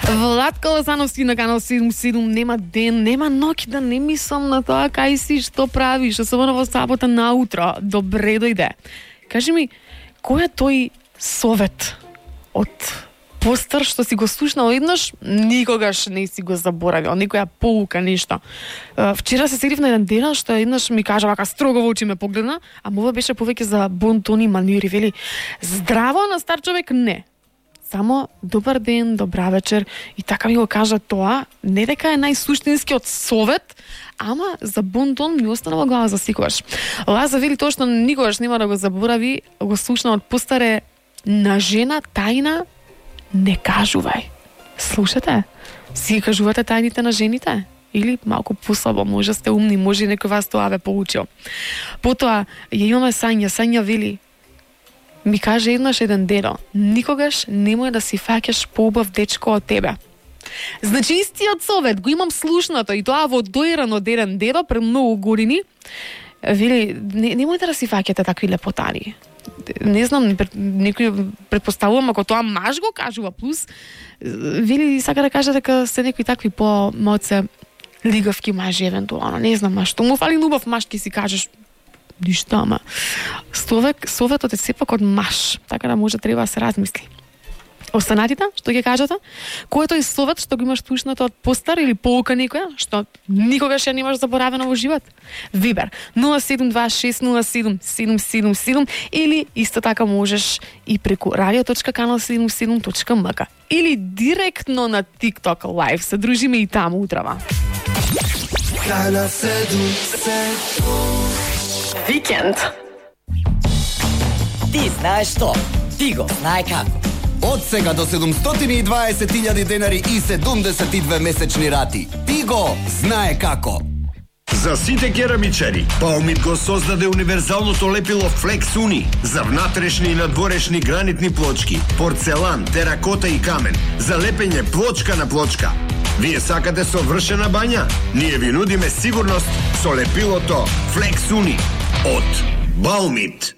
Владко Лазановски на канал 77, нема ден, нема ноќ да не мислам на тоа кај си, што правиш, особено во сабота наутро. Добре дојде. Кажи ми, кој е тој совет од постар што си го слушнал еднаш, никогаш не си го заборавил, некоја поука, нешто. Вчера се седив на еден ден што еднаш ми кажа вака строго во очи ме погледна, а мова беше повеќе за бонтони, манири, вели здраво на стар човек не. Само добар ден, добра вечер и така ми го кажа тоа, не дека е најсуштинскиот совет, ама за бонтон ми остана во глава за секогаш. Лаза вели тоа што никогаш нема да го заборави, го слушна од постаре на жена тајна не кажувај. Слушате? Си кажувате тајните на жените? Или малку послабо, може сте умни, може некој вас тоа ве поучил. Потоа, ја имаме Сања. Сања вели, ми каже еднаш еден дедо, никогаш немој да си фаќаш поубав дечко од тебе. Значи истиот совет го имам слушнато и тоа во доиран од еден дедо пред многу години. Вели, немојте да си фаќате такви лепотари. Не знам, некој претпоставувам ако тоа маж го кажува, плюс вели сака да каже дека се некои такви по-моце лигавки мажи евентуално, не знам, што му фали убав маж ки си кажеш ништо, ама советот е сепак од маж, така да може треба да се размисли. Останатите, што ќе кажете? Кој е тој совет што го имаш слушнато од постар или поука некоја, што никогаш ја немаш заборавено во живот? Вибер 072607777 или исто така можеш и преку radio.kanal77.mk или директно на TikTok Live. Се дружиме и таму утрава. Канал 77 Викенд. Ти знаеш што? Ти го знае како. Од сега до 720.000 денари и 72 месечни рати. Ти го знае како. За сите керамичари, Баумит го создаде универзалното лепило Flex Uni за внатрешни и надворешни гранитни плочки, порцелан, теракота и камен, за лепење плочка на плочка. Вие сакате совршена бања? Ние ви нудиме сигурност со лепилото Flex Uni од Баумит.